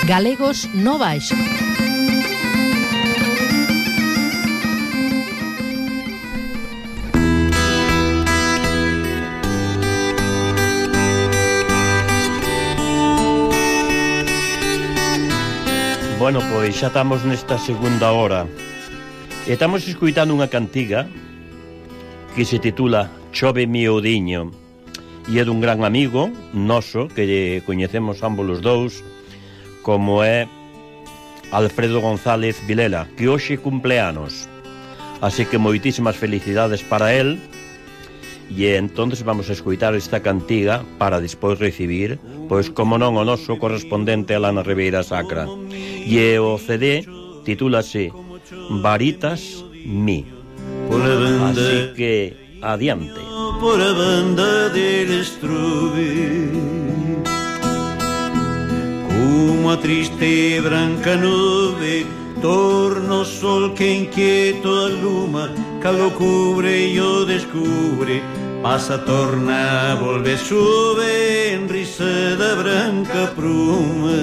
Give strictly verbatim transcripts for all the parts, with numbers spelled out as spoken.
Galegos no Baixo. Bueno, pois xa estamos nesta segunda hora e estamos escuitando unha cantiga que se titula Chove miudiño e é dun gran amigo noso que coñecemos ambos os dous, como é Alfredo González Vilela, que hoxe cumpleanos, así que moitísimas felicidades para él. E entonces vamos a escuitar esta cantiga para despois recibir, pois como non, o noso correspondente a Lana Ribeira Sacra. E o C D titúlase Varitas Mi. Así que adiante. Por a banda del estrube, como a triste e branca nube, torna o sol que inquieto aluma, calo cubre e o descubre, pasa, torna, volve, sube en risa da branca pruma.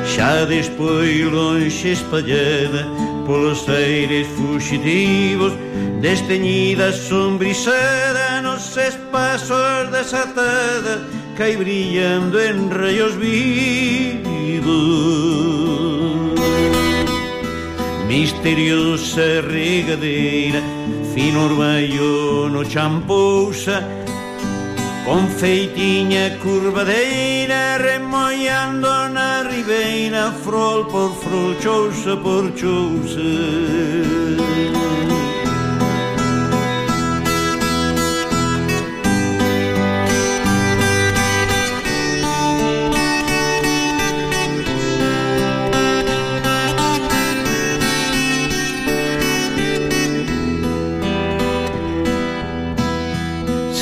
Xa despois lonxe espallada polos aires fugitivos, desteñida sombrizada nos espaços desatada, cai brillando en rayos vivos. Misteriosa regadeira, fino orballo no champousa, con feitiña curvadeira, remollando na ribeira, frol por frol, chousa por chousa.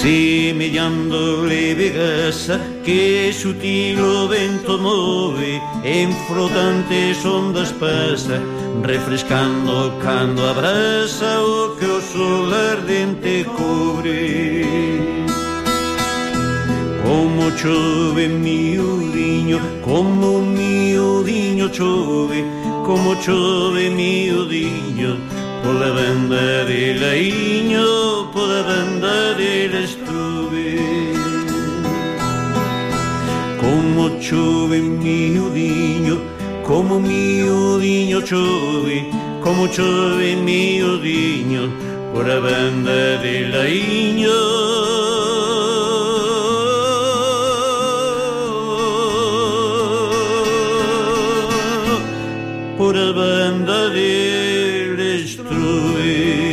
Semellando leve gasa que sutil o vento move, en flotantes ondas pasa, refrescando cando abraza o que o sol ardente cobre. Como chove miudiño, como miudiño chove, como chove miudiño, pola banda de laiño, pola banda del estrube. Como chove miudiño, como miudiño chove, como chove miudiño, pola banda de laiño. Por a banda del estrube.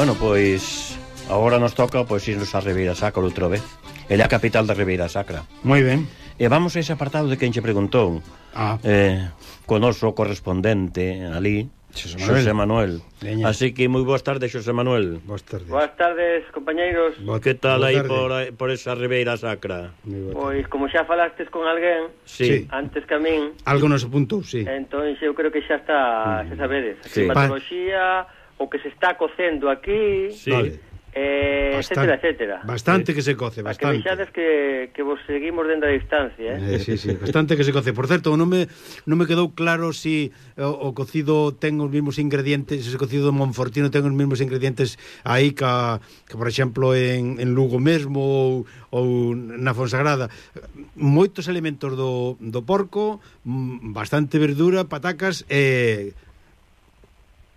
Bueno, pois agora nos toca pois irnos a Ribeira Sacra outra vez. Ela é a capital da Ribeira Sacra. Moi ben. E vamos a ese apartado de quen che preguntou. Ah. Eh, co noso correspondente ali, Xosé Manuel. Xosé Manuel. Así que moi boas tardes, Xosé Manuel. Boas tardes. Boas tardes, compañeiros. Bo, que tal aí por, por esa Ribeira Sacra? Pois, como xa falastes con alguén, sí. antes que a min... Algo nos apuntou, sí. Entón, eu creo que xa está, xa sabedes, a sí. climatoloxía, o que se está cocendo aquí... Sí. Vale. Eh, etcétera, etcétera. Bastante sí. que se coce, bastante. A que vexades que, que vos seguimos dentro da distancia, eh? eh sí, sí, bastante que se coce. Por certo, non me, non me quedou claro si o, o cocido ten os mesmos ingredientes, se o cocido de Monfortino ten os mesmos ingredientes aí que, que por exemplo, en, en Lugo mesmo ou, ou na Fonsagrada. Moitos elementos do, do porco, bastante verdura, patacas e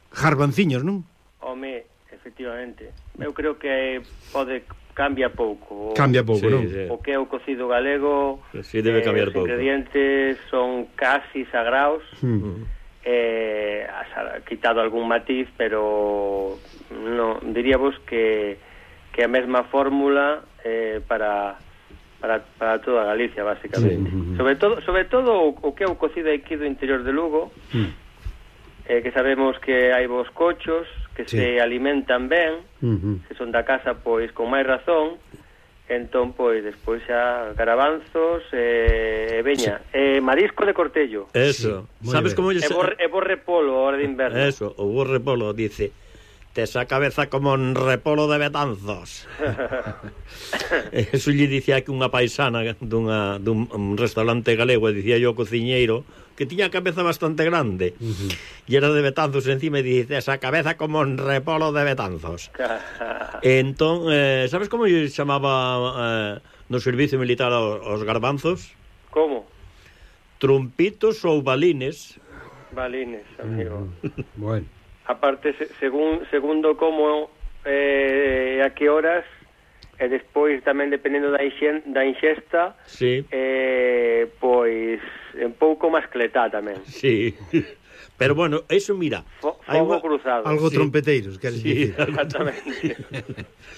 jarbanciños, non? Home, efectivamente. Eu creo que pode cambia pouco. Cambia pouco, sí, non? Sí. O que é o cocido galego, sí, debe cambiar eh, os pouco. ingredientes son casi sagrados. Mm. Eh, has quitado algún matiz, pero no, diríamos que que a mesma fórmula eh, para para para toda Galicia, basicamente. Sí. Sobre todo, sobre todo o, o que é o cocido aquí do interior de Lugo. Mm. Eh, que sabemos que hai vos cochos que sí. se alimentan ben, uh-huh. se son da casa, pois, con máis razón, entón, pois, despois xa garabanzos, e eh, veña, sí. eh, marisco de cortello. Eso, sí. Sabes como... E bor, e bor repolo, a hora de inverno. Eso, o bor repolo, dice, tes a cabeza como un repolo de Betanzos. Eso lle dicía que unha paisana dunha, dun un restaurante galego, e dicía yo ao cociñeiro, que tiña a cabeza bastante grande, uh-huh. e era de Betanzos encima, e dice, esa cabeza como un repolo de Betanzos. Entón, eh, sabes como lle chamaba eh, no servicio militar aos, aos garbanzos? Como? Trompitos ou balines. Balines, amigo. Uh-huh. Bueno. Aparte, se, según, segundo como eh, a que horas, e despois tamén dependendo da, inxen, da inxesta, sí. eh, pois un pouco máis cletá tamén. Sí. Pero bueno, eso mira, F fogo cruzado. Algo sí. trompeteiros, queres sí, dicir. Exactamente.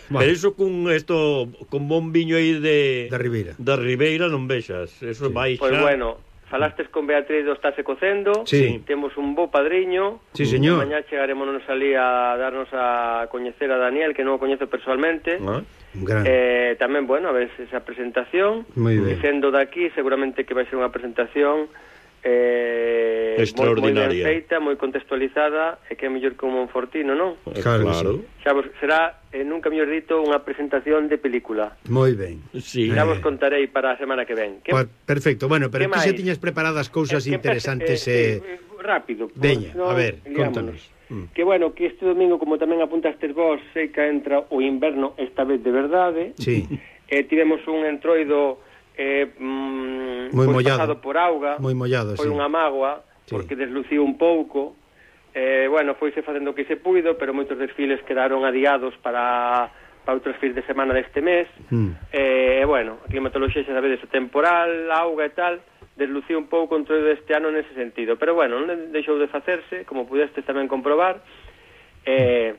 Bueno. Pero eso con esto con bombiño aí de da Ribeira. Da Ribeira non vexas, eso sí. vai xa. Pois bueno, falastes con Beatriz do Estase Cocendo, sí. temos un bo padriño. Sí, señor. Mañá chegaremos ali a darnos a coñecer a Daniel, que non o coñezo personalmente. Ah. Eh, tamén, bueno, a ver esa presentación dicendo daqui, seguramente que vai ser unha presentación eh, extraordinaria, moi ben feita, moi contextualizada, e que é mellor que un Monfortino, non? Claro, claro. Xa vos, será, eh, nunca mellor dito, unha presentación de película. Moi ben. Sí. Xa vos contarei para a semana que ven. Que, perfecto, bueno, pero que xa tiñas preparadas cousas eh, interesantes e... Eh, eh, rápido. Veña, no, a ver, contanos. Mm. Que bueno, que este domingo, como tamén apuntastes vos, sei que entra o inverno esta vez de verdade. Sí. Eh, tivemos un entroido eh, mm, moi pues, mollado. pasado por auga. Moi mollado, foi sí. unha mágoa, sí. porque desluciu un pouco. Eh, bueno, foise facendo o que se puido, pero moitos desfiles quedaron adiados para, para outros fins de semana deste mes. Mm. Eh, bueno, a climatoloxía xa sabedes, o temporal, auga e tal, desluciu un pouco o entroido deste ano nese sentido, pero bueno, non deixou de facerse, como pudestes tamén comprobar, e,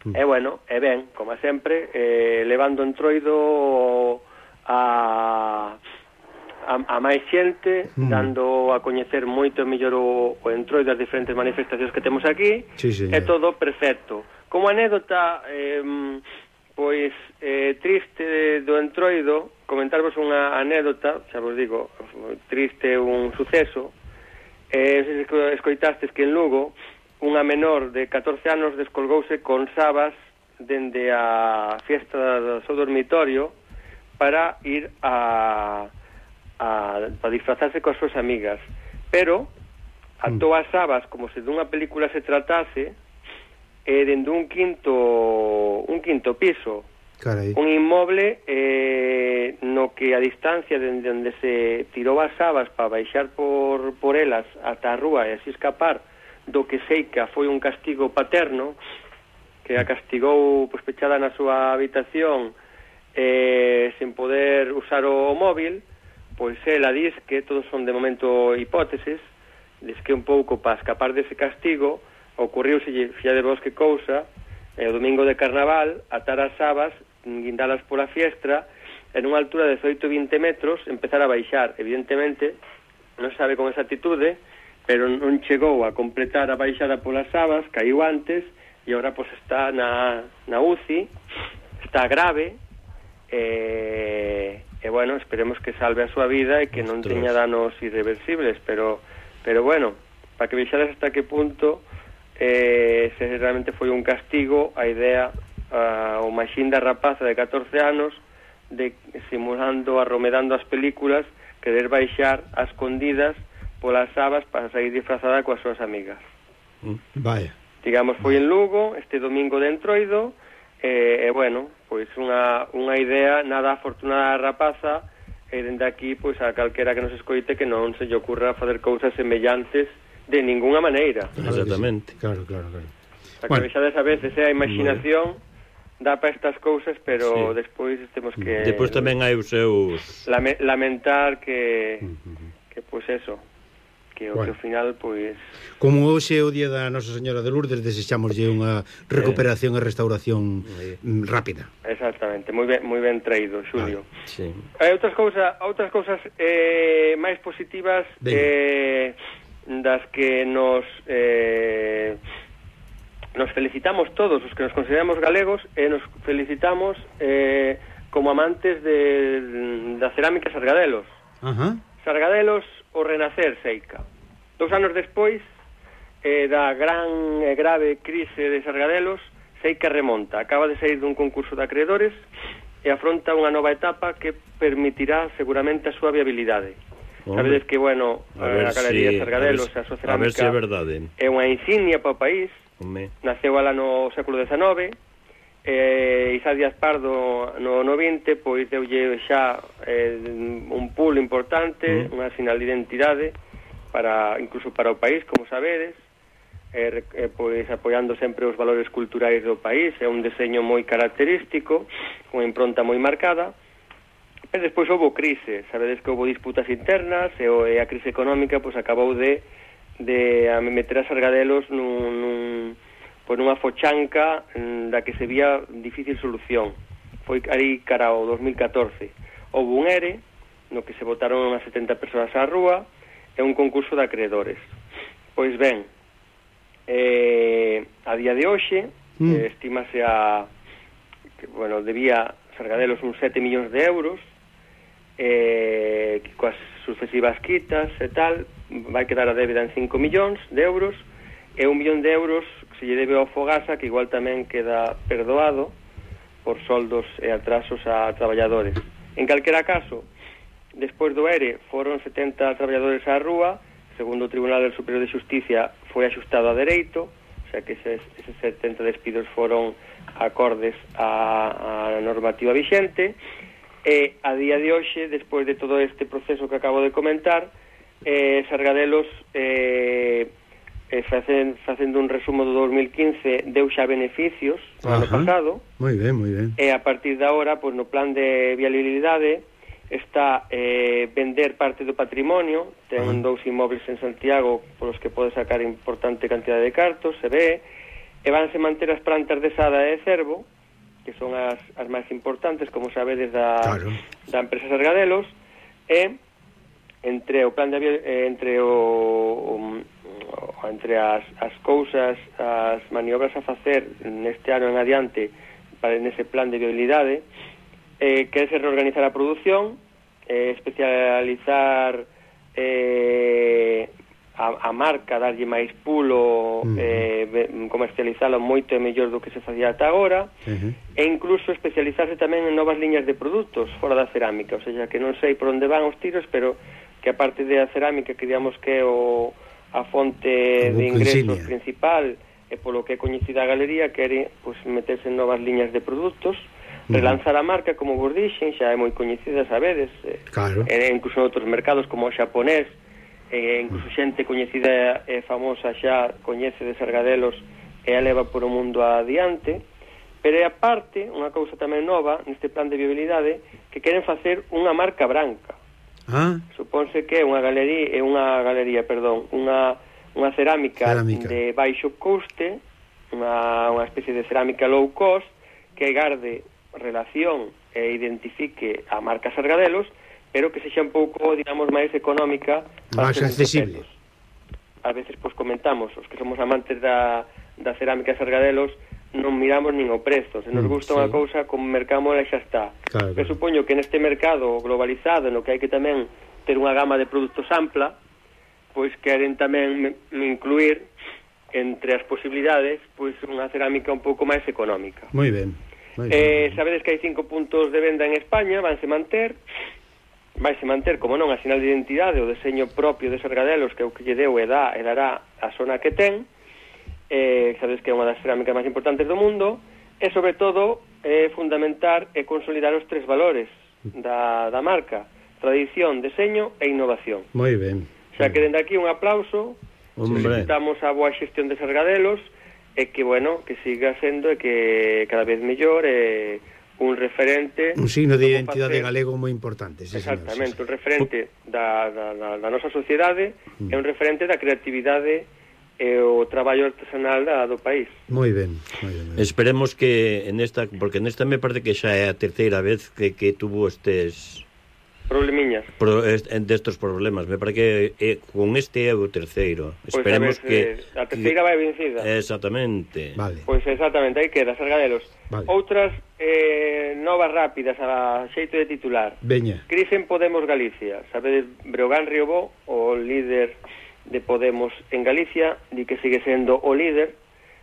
mm. e bueno, e ben, como sempre, eh, levando o entroido a, a, a máis xente, mm. dando a coñecer moito mellor o, o entroido das diferentes manifestacións que temos aquí, sí, sí, é todo perfecto. Como anécdota, eh, pois, eh, triste do entroido, comentarvos unha anécdota, xa vos digo, triste, un suceso. Eh, escoitastes que en Lugo unha menor de catorce anos descolgouse con sabas dende a fiesta do seu dormitorio para ir a, a, a disfrazarse coas súas amigas. Pero atou as sabas como se dunha película se tratase, e dende un quinto un quinto piso. Carai. Un inmoble eh, no que a distancia dende onde se tirou as sabas para baixar por, por elas ata a rúa e así escapar do que seica foi un castigo paterno, que a castigou pues, pechada na súa habitación eh, sen poder usar o, o móvil, pois ela diz que todos son de momento hipótesis, diz que un pouco para escapar dese castigo ocurriuse, fía de vos que cousa, e o domingo de carnaval atar as sabas, guindalas pola fiestra, en unha altura de dezoito a vinte metros, empezar a baixar. Evidentemente, non sabe con exactitude pero non chegou a completar a baixada polas sabas, caiu antes, e agora pois está na, na U C I, está grave, e, e bueno, esperemos que salve a súa vida e que non Ostras. teña danos irreversibles, pero, pero bueno, para que vexades hasta que punto eh, se realmente foi un castigo a idea, uh, o maxín da rapaza de catorce anos, de simulando, arromedando as películas, querer baixar a escondidas polas sabas para sair disfrazada coas súas amigas. Vaya. Digamos, foi en Lugo, este domingo de Entroido, e, e bueno, pois unha, unha idea nada afortunada da rapaza, e dende aquí, pois a calquera que nos escoite que non se lle ocurra facer cousas semellantes de ninguna maneira. Exactamente. Claro, claro, claro. Para que Bueno. vexades a veces, eh, a imaginación dá para estas cousas, pero Sí. despois temos que... Depois tamén hai os seus... Lame, lamentar que, que pois eso, que, Bueno. que ao final, pois... Como hoxe é o día da Nosa Señora de Lourdes, desexámoslle unha recuperación e restauración mm, rápida. Exactamente, moi ben, moi ben traído, Xulio. Sí. Hai outras cousas, outras cousas eh, máis positivas eh, das que nos eh, nos felicitamos todos os que nos consideramos galegos, e nos felicitamos eh, como amantes de, da cerámica Sargadelos. Ajá. Sargadelos, o renacer, Seica. Dous anos despois eh, da gran e grave crise de Sargadelos, Seica remonta. Acaba de sair dun concurso de acreedores e afronta unha nova etapa que permitirá seguramente a súa viabilidade. Hombre. Sabedes que, bueno, A a, ver a Galería si- Sargadelos, a ver a súa si- a ver cerámica, si é verdade. é unha insignia para o país. Home. Naceu ala no século dezenove, e Isaac Díaz Pardo no, no vinte, pois deulle xa eh, un pool importante, Mm. unha sinal de identidade para, incluso para o país, como sabedes, eh, eh, pois apoiando sempre os valores culturais do país. É un deseño moi característico, con impronta moi marcada. Pero despois houve crise, sabedes que houve disputas internas, e, o, e a crise económica pois acabou de de a meter a Sargadelos nun, nun, pois nunha fochanca mm, da que se vía difícil solución. Foi aí cara ao dos mil catorce. Houve un ERE, no que se botaron unhas setenta persoas á rúa, e un concurso de acreedores. Pois ben, eh, a día de hoxe, Mm. eh, estímase a que, bueno, debía Sargadelos uns sete millóns de euros, eh, que coas sucesivas quitas e tal, vai quedar a débeda en cinco millóns de euros, e un millón de euros que se lle debe ao Fogasa, que igual tamén queda perdoado por soldos e atrasos a traballadores. En calquera caso, despois do ERE foron setenta traballadores á rúa, segundo o Tribunal del Superior de Xusticia foi axustado a dereito, o sea que eses, eses setenta despidos foron acordes á, á normativa vixente, e a día de hoxe, despois de todo este proceso que acabo de comentar, eh, Sargadelos eh, eh, facen, facendo un resumo do dos mil quince deu xa beneficios no ano Ajá. pasado, Moi ben, moi ben. e a partir de agora, pois, no plan de viabilidade está eh, vender parte do patrimonio. Ten Ajá. dous inmóveis en Santiago polos que pode sacar importante cantidad de cartos, se ve, e vanse manter as plantas de Sada e de Cervo, que son as, as máis importantes, como sabedes, da, Claro. da empresa Sargadelos, e entre o plan de eh, entre o, o entre as, as cousas, as maniobras a facer neste ano en adiante para nese plan de viabilidade, eh, que é se reorganizar a produción, eh, especializar eh, a, a marca, darlle máis pulo, Uh-huh. eh, comercializalo moito e mellor do que se facía ata agora, Uh-huh. e incluso especializarse tamén en novas liñas de produtos fora da cerámica, o sea, que non sei por onde van os tiros, pero que aparte da cerámica, que digamos que é o, a fonte O de buque ingresos insignia principal, e polo que é coñecida a galería, quere pues, meterse en novas liñas de produtos, relanzar a marca, como vos dixen, xa é moi coñecida, sabedes, eh, Claro. e incluso en outros mercados como o xaponés, e incluso xente coñecida e famosa xa coñece de Sargadelos e a leva por o mundo adiante. Pero é aparte, unha cousa tamén nova neste plan de viabilidade, que queren facer unha marca branca. Ah, Supónse que é unha galería, é unha galería, perdón, unha unha cerámica, Cerámica. de baixo coste, unha unha especie de cerámica low cost que garde relación e identifique a marca Sargadelos, pero que sexa un pouco, digamos, máis económica, máis para accesible. a veces pois comentamos, os que somos amantes da, da cerámica de Sargadelos, non miramos nin o prezo. Se nos gusta mm, unha sí. cousa, como mercamos xa está. Claro, claro. Supoño que neste mercado globalizado, no que hai que tamén ter unha gama de produtos ampla, pois queren tamén incluir entre as posibilidades pois unha cerámica un pouco máis económica. Moi ben. Moi eh, ben. Sabedes que hai cinco puntos de venda en España, vanse manter, vanse manter, como non, a sinal de identidade, o deseño propio de Sargadelos, que é o que lle deu e dá e dará a zona que ten. Eh, sabedes que é unha das cerámicas máis importantes do mundo, e sobre todo eh, fundamentar e consolidar os tres valores da, da marca: tradición, deseño e innovación. Moi ben. Xa que dende aquí un aplauso, solicitamos a boa xestión de Sargadelos e que, bueno, que siga sendo e que cada vez mellor e un referente, un signo de identidade galego moi importante, sí, exactamente, señor, sí, sí. Un referente da, da, da, da nosa sociedade mm. e un referente da creatividade e o traballo artesanal da, do país. Moi ben, moi ben, moi ben. Esperemos que en esta, porque nesta me parece que xa é a terceira vez que, que tuvo estes problemiñas. Pro, est, destos problemas. Me parece que eh, con este é o terceiro. Pois Esperemos sabes, que eh, a terceira vai vencida. Exactamente. Vale. Pois exactamente, aí queda Sargadelos. Vale. Outras eh, novas rápidas a xeito de titular. Veña. Crise en Podemos Galicia. Sabedes, Breogán Riobó, o líder de Podemos en Galicia, di que sigue sendo o líder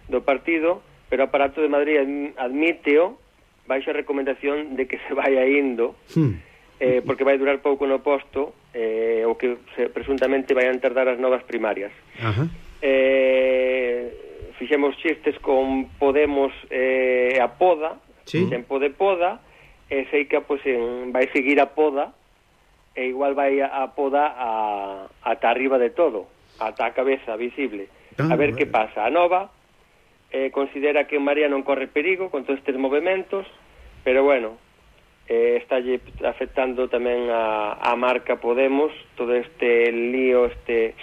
do partido, pero o aparato de Madrid admíteo baixo a recomendación de que se vaya indo, hmm. eh, porque vai durar pouco no posto, eh, o que se, presuntamente vayan tardar as novas primarias. Ajá. Eh, fixemos chistes con Podemos eh, a poda, sí. Tempo de poda, e sei que pues, en, vai seguir a poda, e igual vai a, a poda a, ata arriba de todo, ata a cabeza visible. Ah, a ver bueno. que pasa. A Nova eh, considera que María non corre perigo con todos estes movimentos, pero bueno, eh, está afectando tamén a, a marca Podemos, todo este lío, este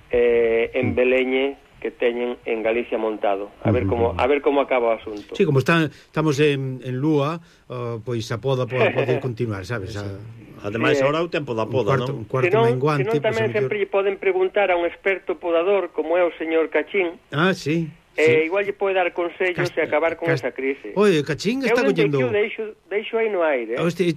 eh, embeleñe que teñen en Galicia montado. A ver como a ver como acaba o asunto. Sí, como está, estamos en, en Lúa, uh, pois a poda pode, pode continuar, sabes? A, Ademais, sí, agora o tempo da poda, un cuarto, non? Un cuarto senón, menguante. Senón tamén pues, sempre lle poden preguntar a un experto podador como é o señor Cachín. Ah, sí. Eh, sí. Igual lle pode dar consellos Cast... e acabar con Cast... esa crise. Oye, Cachín está collendo... Eu deixo, deixo aí no aire. Eh? Este,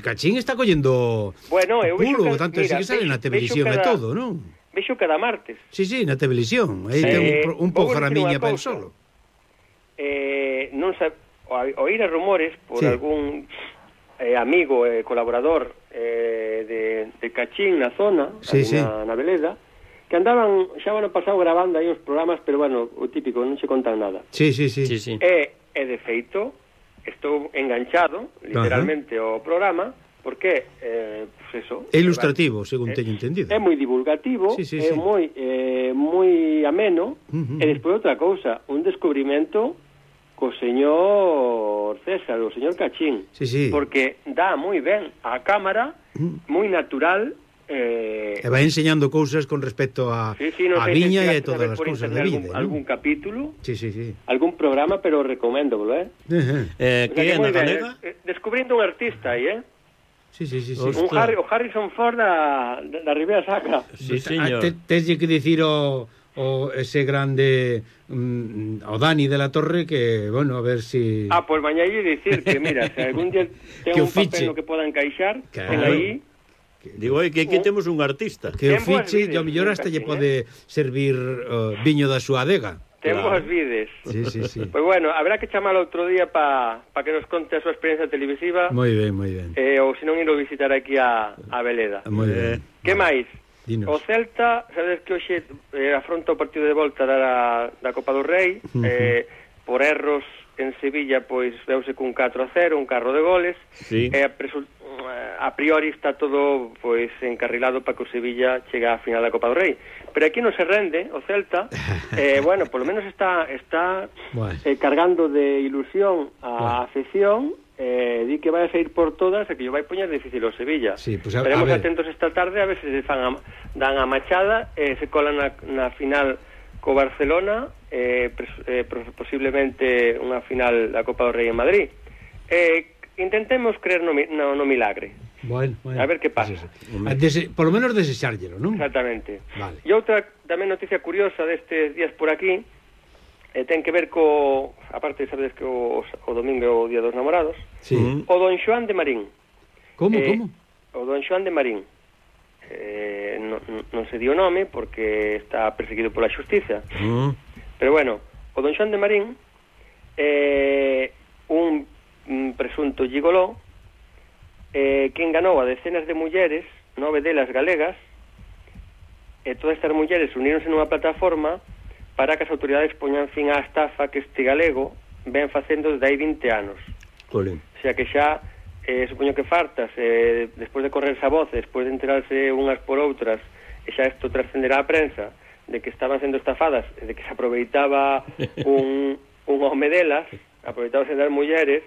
Cachín está collendo... Bueno, eu vexo... Puro, tanto mira, que sale na televisión cada... e todo, non? Vexo cada martes. Sí, sí, na televisión. Aí eh, ten un, un programinha para el solo. Eh, non sabe... Oír a rumores por sí. algún eh, amigo, eh, colaborador eh, de, de Cachín na zona, sí, sí. na, na Veleda, que andaban xa o ano pasado grabando aí os programas, pero bueno, o típico, non se contan nada. Sí, sí, sí. sí, sí. E, e de feito, estou enganchado, literalmente, ao programa, porque, eh, pues eso... É ilustrativo, según teño entendido. É moi divulgativo, sí, sí, é sí. moi eh, moi ameno, uh-huh. E despois outra cousa, un descubrimento co señor César, o señor Cachín, sí, sí. Porque dá moi ben a cámara, uh-huh. Moi natural... Eh... E vai enseñando cousas con respecto a, sí, sí, no a viña e a todas as cousas da vida. Algún, algún capítulo, sí, sí, sí. Algún programa, pero recomendo, eh? Uh-huh. eh, que é na galega? Eh, descubrindo un artista aí, eh? Sí, sí, sí, sí. Un Harry, o Harrison Ford da, da Ribera Sacra. Sí, señor. Teslle que dicir o, o ese grande um, o Dani de la Torre que, bueno, a ver si... Ah, pues mañá lle dicir que, mira, se algún día ten un papel no que poda encaixar, claro. Ten aí... Digo, oi, que aquí temos un artista. Que o fiche, e o mellor hasta lle pode servir uh, viño da súa adega. Ten claro. Boas vides. Sí, sí, sí. Pois pues bueno, habrá que chamalo outro día para pa que nos conte a súa experiencia televisiva. Moi ben, moi ben. Eh, ou senón ir a visitar aquí a, a Veleda. Moi ben. Que máis? Dinos. O Celta, sabes que hoxe eh, afronta o partido de volta da, da Copa do Rei, uh-huh. eh, por erros en Sevilla, pois veuse cun catro a cero, un carro de goles, sí. E a, a priori está todo pois encarrilado para que o Sevilla chegue á final da Copa do Rei. Pero aquí non se rende o Celta, eh, bueno, polo menos está está bueno. eh, cargando de ilusión a bueno. afección, eh, di que vai a sair por todas e que yo vai poñer difícil o Sevilla. Sí, pues a, Estaremos a atentos esta tarde a ver se se fan a, dan a machada e eh, se colan na, na final co Barcelona, eh, pres, eh, posiblemente unha final da Copa do Rei en Madrid. Eh, intentemos creer no, no, no milagre. Bueno, bueno. A ver que pasa. Sí, sí. Dese, por lo menos desexárllelo, non? Exactamente. Vale. E outra tamén noticia curiosa destes días por aquí, eh, ten que ver co... Aparte, sabedes que o, o domingo é o Día dos Namorados. Sí. O Don Xoán de Marín. Como, eh, como? O Don Xoán de Marín. Eh, non, non se dio nome porque está perseguido pola xustiza. Mm. Pero bueno, o Don Xoán de Marín é eh, un, un presunto gigoló eh, que enganou a decenas de mulleres, nove delas galegas, e todas estas mulleres uníronse nunha plataforma para que as autoridades poñan fin á estafa que este galego ven facendo desde hai vinte anos. Colín. O sea que xa, eh, supoño que fartas, eh, despois de correrse a voz, despois de enterarse unhas por outras, e xa isto trascenderá a prensa, de que estaban sendo estafadas, de que se aproveitaba un, un home delas, aproveitábase das mulleres,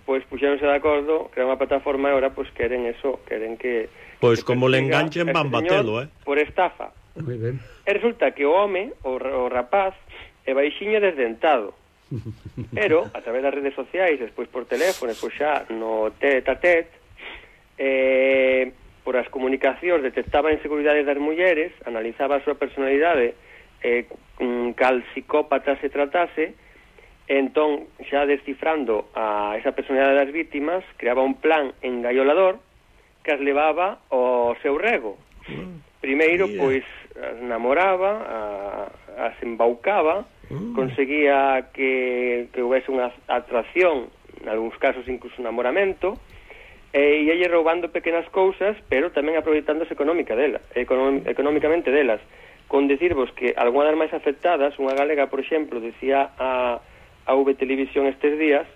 pois puxéronse de acordo, crearon unha plataforma e ahora pois queren eso, queren que... Pois que como le persiga enganchen este van batelo, eh? Por estafa. Moi ben. E resulta que o home, o, o rapaz, é baixiño desdentado. Pero, a través das redes sociais, despois por teléfono, despois xa no tete a tete, eh, por as comunicacións detectaba inseguridades das mulleres, analizaba a súa personalidade, eh, cal psicópata se tratase, entón, xa descifrando a esa personalidade das vítimas, creaba un plan engaiolador que as levaba ao seu rego. Primeiro, yeah. pois, as namoraba, a, as embaucaba, mm. conseguía que, que houvese unha atracción, en algúns casos incluso un namoramento, e ia lle roubando pequenas cousas, pero tamén aproveitándose económica dela, económ, económicamente delas. Con decirvos que algunha das máis afectadas, unha galega, por exemplo, decía a, a V Televisión estes días,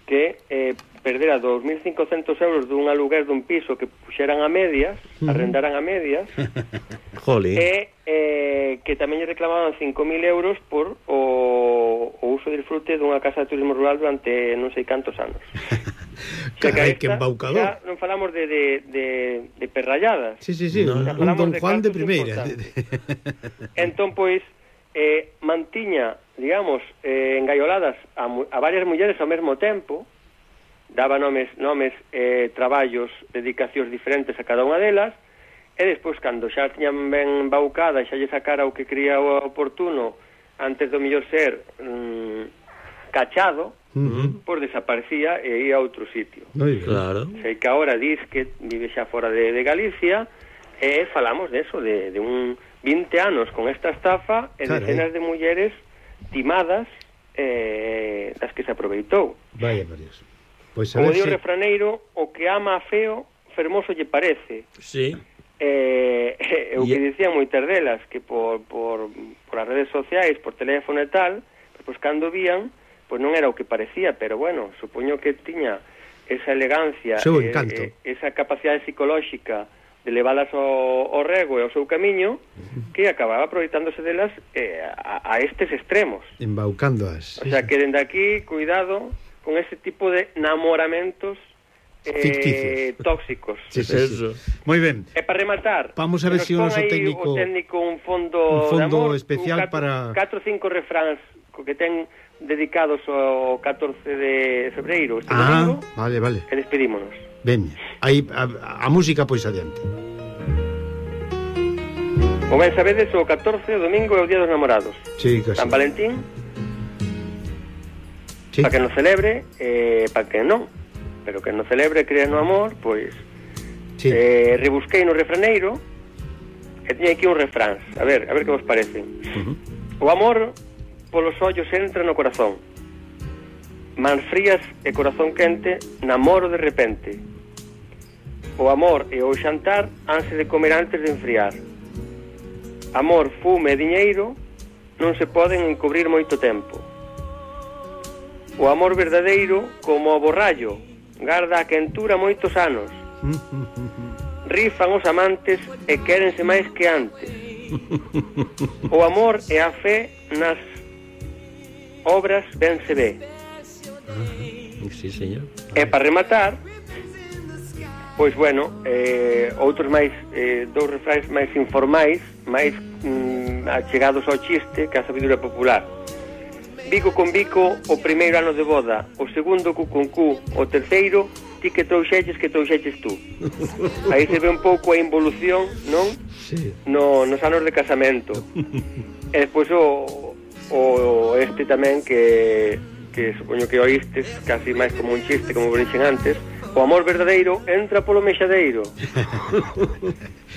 que eh, perdera dos mil cincocentos euros dun aluguer dun piso que puxeran a medias, uh-huh. arrendaran a medias, e eh, que tamén lle reclamaban cinco mil euros por o, o uso de disfrute dunha casa de turismo rural durante non sei cantos anos. Carai, que embaucador. Xa non falamos de, de, de, de perralladas. Sí, sí, sí, no, un Don Juan de, de primeira. Entón, pois, eh, mantiña, digamos, eh, engaioladas a, a varias mulleres ao mesmo tempo, daba nomes, nomes eh, traballos, dedicacións diferentes a cada unha delas, e despois, cando xa tiñan ben embaucada e xa lle sacara o que cría o oportuno, antes do millor ser mm, cachado, uh-huh. pois desaparecía e ia a outro sitio. Claro. Sei que agora dis que vive xa fora de, de Galicia, e falamos de eso, de, de un vinte anos con esta estafa e Carai. Decenas de mulleres timadas eh, das que se aproveitou. Vaya, Marios. Pois Como di o se... refraneiro, o que ama a feo, fermoso lle parece. Sí. Eh, eh, o que dicían moitas delas, que por, por, por as redes sociais, por teléfono e tal, pois cando vían, pois non era o que parecía, pero bueno, supoño que tiña esa elegancia, seu eh, encanto. eh, esa capacidade psicolóxica de leválas ao, ao rego e ao seu camiño, que acababa aproveitándose delas eh, a, a estes extremos. Embaucándoas. O sea, que dende aquí, cuidado con ese tipo de namoramentos eh, tóxicos. Sí, sí, sí. Moi ben. E para rematar, vamos a ver se si o noso técnico o técnico un fondo, un fondo de amor, especial un catro, para catro ou cinco refráns que ten dedicados ao catorce de febreiro este ah, domingo. Vale, vale. E despedímonos. Ben, aí a, a música pois adiante. Como ben sabedes, o catorce o domingo é o Día dos Namorados. Sí, casi. San Valentín. Sí. Para que non celebre, eh, para que non. Pero que non celebre, crea no amor, pois sí. eh, rebusquei no refraneiro e tiña aquí un refrán. A ver, a ver que vos parece. Uh-huh. O amor polos ollos entra no corazón. Mans frías e corazón quente, namoro de repente. O amor e o xantar hanse de comer antes de enfriar. Amor, fume e diñeiro non se poden encubrir moito tempo. O amor verdadeiro, como o borrallo, garda a quentura moitos anos. Rifan os amantes e quérense máis que antes. O amor e a fe nas obras ben se ve. Sí, señor. E para rematar, pois bueno, eh, outros máis eh, dous refráns máis informais, máis mm, achegados ao chiste que a sabiduría popular. Bico con bico o primeiro ano de boda, o segundo cu con cu, o terceiro ti que trouxeches que trouxeches tú. Aí se ve un pouco a involución, non? Sí. No, nos anos de casamento. E despois o, o este tamén que, que supoño que oístes, casi máis como un chiste, como dixen antes, o amor verdadeiro entra polo mexadeiro.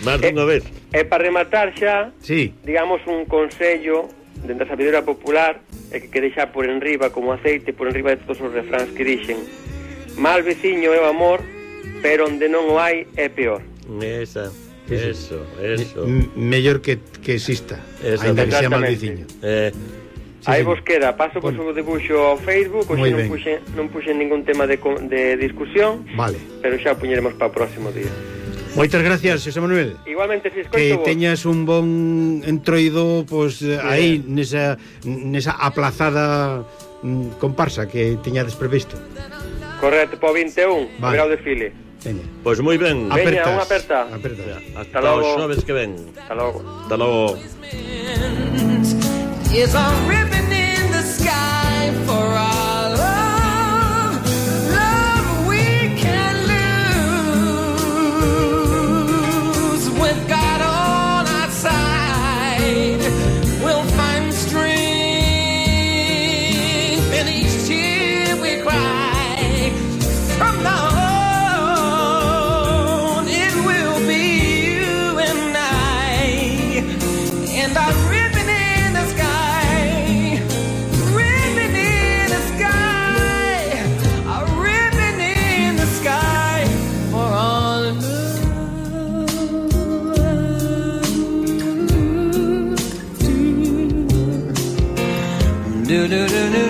Más dunha vez. E para rematar xa, Sí. digamos un consello dentro da sabiduría popular, e que quede xa por enriba como aceite, por enriba de todos os refráns que dixen: mal veciño é o amor, pero onde non o hai é peor. Esa, eso, eso. M- mellor que, que exista, Exactamente. ainda que sea mal veciño. Eh, Sí, Aí sí. vos queda, paso por Bueno. o debuxo ao Facebook, ou Moi non ben. puxen, non puxen ningún tema de, co- de discusión, Vale. pero xa o puñeremos para o próximo día. Moitas gracias, José Manuel. Igualmente, si Que escoito vos. teñas un bon entroido, pues, eh, aí nesa nesa aplazada mm, comparsa que teñades previsto. Correcto, para o vinte e un, Vale. verá o desfile. Teña. Pois moi ben. Veña, Apertas. unha aperta. Apertas. Hasta logo. os xoves que ven. Hasta logo. Hasta logo. Is a ribbon in the sky for our love, love we can lose. With God on our side, we'll find strength in each tear we cry. From now on, it will be you and I, and our ribbon in the sky, ribbon in the sky, a ribbon in the sky for all love. Do do do do.